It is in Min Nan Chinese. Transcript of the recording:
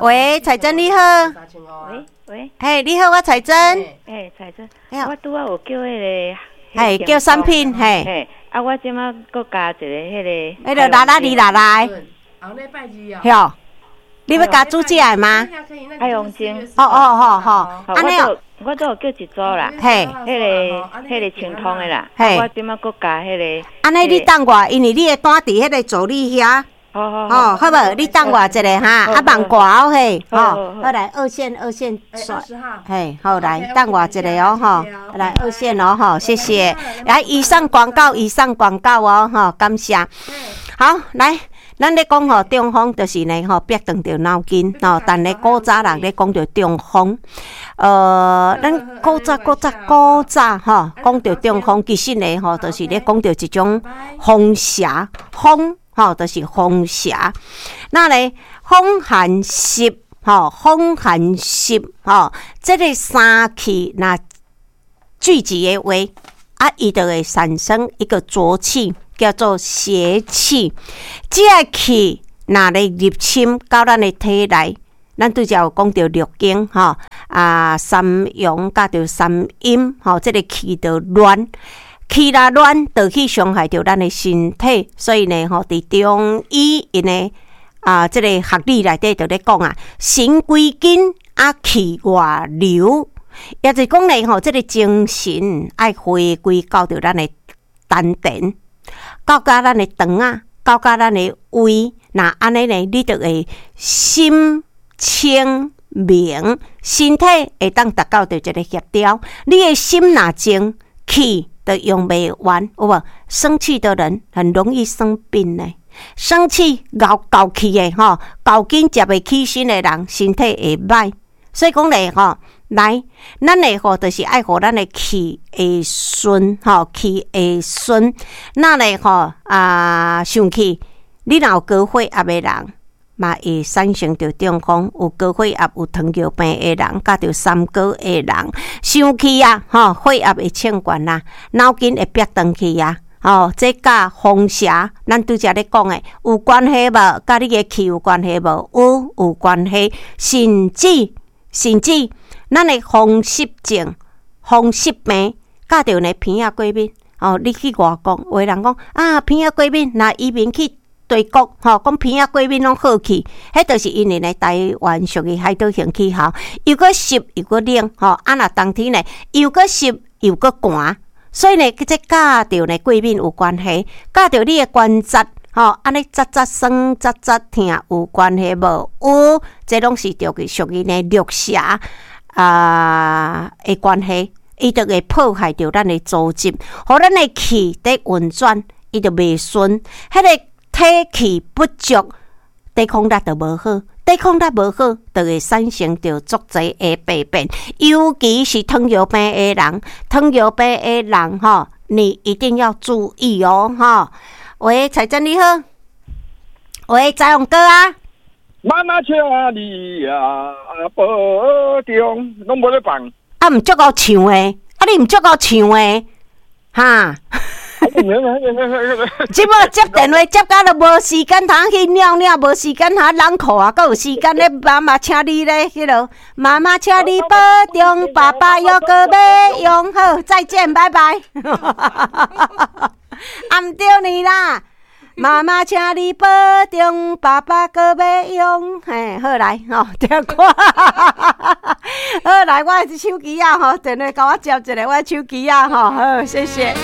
喂，彩珍你好。喂喂。嘿，你好，我彩珍。欸，彩珍，我拄仔有叫彼个，嘿，叫产品，嘿。嘿，啊，我這馬閣加一个彼个。彼个啦啦哩啦啦。後禮拜二哦。哟，你欲加煮食的嗎？海王精。哦哦好好，按呢哦。我都有叫一組啦，嘿，彼個清通的啦，嘿，我這馬閣加彼個。按呢你等我，因為你的單佇彼個助理遐。好好。哦，好無？你等我一下哈，啊，網掛好嘿，吼，好來二線二線刷，嘿，好來，等我一下哦，吼，來二線哦，吼，謝謝。來，以上廣告，以上廣告哦，吼，感謝。好，來。咱咧講吼，中風就是呢吼，煏斷著腦筋吼。但咧古早人咧講著中風，咱古早古早古早吼，講著中風，其實呢吼，就是咧講著一種風邪，風吼，就是風邪。那咧風寒濕吼，風寒濕吼，這个三氣若聚集的話，啊，伊就會產生一個濁氣，叫做邪氣。這个氣若咧入侵到咱的體內，咱拄才有講著六經吼，啊，三陽佮著三陰吼，這个氣就亂，氣若亂，就去傷害著咱的身體。所以呢，吼，佇中醫𪜶的啊，這个學理內底就咧講啊，神歸根啊，氣外流，也就是講呢，吼，這个精神愛回歸到著咱的丹田，到佮咱的腸仔，到佮咱的胃，若按呢呢，你就會心清明，身體會當達到著一个協調。你的心若靜，氣就用袂完，有無？生氣的人很容易生病呢。生氣、𠢕𠢕氣的吼，𠢕緊接袂起身的人，身體會歹。所以講咧吼，來，咱的吼就是愛予咱的氣會順吼，氣會順。那咧吼啊，生氣，你若有高血壓的人，嘛會產生著中風；有高血壓、有糖尿病的人，佮著三高的人，生氣啊，吼，血壓會衝懸啦，腦筋會煏斷去啊。吼，這佮風邪，咱拄才咧講的有關係無？佮你的氣有關係無？有，有關係，甚至甚至咱的風濕症、風濕病，佮著呢鼻仔過敏。哦，你去外國，有的人講啊，鼻仔過敏，若移民去對國，吼，講鼻仔過敏攏好去，彼就是因為呢，台灣屬於海島型氣候，又閣濕又閣冷，吼，啊若冬天呢，又閣濕又閣寒，所以呢，這佮著呢過敏有關係，佮著你的關節，吼，按呢節節酸、節節疼有關係無？有，這攏是著屬於呢六邪啊的關係，伊就會破壞著咱的組織，予咱的氣佇運轉，伊就袂順，彼个體氣不足，抵抗力就無好，抵抗力無好，就會產生著足濟的病變。尤其是糖尿病的人，糖尿病的人吼，你一定要注意哦，吼。喂，彩珍你好，喂，彩虹哥啊，媽媽請你啊保重，攏無咧放。啊，毋足夠唱的，啊，你毋足夠唱的，哈。這擺接電話接甲都無時間通去尿尿，無時間通冷褲啊，閣有時間咧媽媽請你咧，彼落媽媽請你保重，爸爸猶閣欲用，好，再見，拜拜。啊，毋對呢啦，媽媽請你保重，爸爸閣欲用，嘿，好來吼，聽歌。好來，我的手機仔吼，電話共我接一下，我的手機仔吼，好，謝謝。